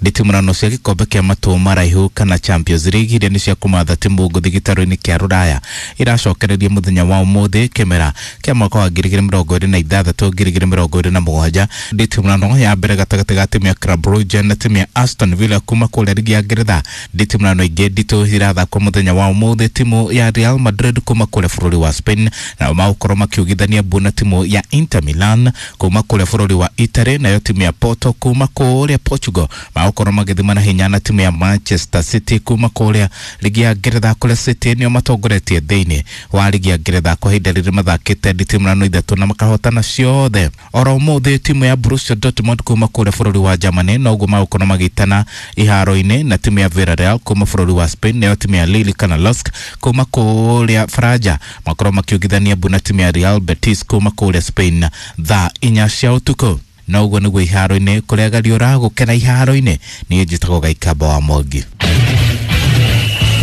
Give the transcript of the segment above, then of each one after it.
Nditimũrano cia gĩkombe kĩa matũ maraihu kana Champions League iria nĩ cia kũmatha timu ngũthi gĩtarũ-inĩ kĩa Rũraya iracokereria mũthenya wa ũmũthĩ kĩmera kĩa mwaka wa 2026 2027. Nditimũrano ya mbere gatagatĩ ga timu ya Club Brugge na timu ya Aston Villa kuma kũrĩa ligi ya Ngeretha. Nditimũrano ingĩ nditũ irathakwo mũthenya wa ũmũthĩ, timu ya Real Madrid kuma kũrĩa bũrũri wa Spain nao magũkorwo makiugithania mbu na timu ya Inter Milan kuma kũrĩa bũrũri wa Italy, nayo timu ya Porto kuma kũrĩa Portugal magũkorwo magĩthima na hinya na timu ya Manchester City kuma kũrĩa ligi ya Ngeretha, kũrĩa City nĩo matongoretie thĩinĩ wa ligi ya Ngeretha kwa ihinda rĩrĩ mathakĩte nditimũrano ithatũ na makahotana ciothe. Oro ũmũthĩ timu ya Borussia Dortmund kuma kũrĩa bũrũri wa Germany noguo magũkorwo magĩitana iharo-inĩ na timu ya Villarreal kuma bũrũri wa Spain, nayo timu ya Lille kana LOSC kuma kũrĩa Faranja makorwo makiugithania mbu na timu ya Real Betis kuma kũrĩa Spain thaa 4 cia ũtukũ. Na ũguo nĩguo iharo-inĩ kũrĩa gariũra gũkena iharo-inĩ. Niĩ njĩtagwo Gaikamba wa Mwangi.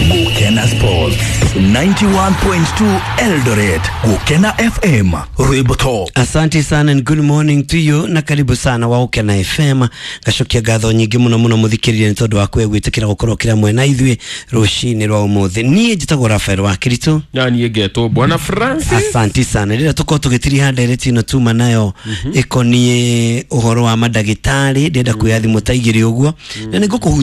Gukena Sports 91.2 Eldoret, Gukena FM, Rwimbo Top. Asante sana and good morning to you na karibu sana wa Gukena FM. Ngacokia ngatho nyingĩ mũno mũno mũthikĩrĩria nĩ tondũ wa kwe gwĩtĩkĩra gũkorwo kĩra mwena ithuĩ rũcinĩ rwa ũmũthĩ. Niĩ njĩtagwo Rafael wa Kiritu. Na niĩ ngetwo Bwana Francis. Asante sana. Rĩrĩa tũkorwo tũgĩtiriha ndereti ĩno tuma nayo ĩkoniĩ ũhoro wa mandagĩtarĩ, ndĩrenda kuoya thimũ ta igĩrĩ ũguo na nĩngũkũhutia.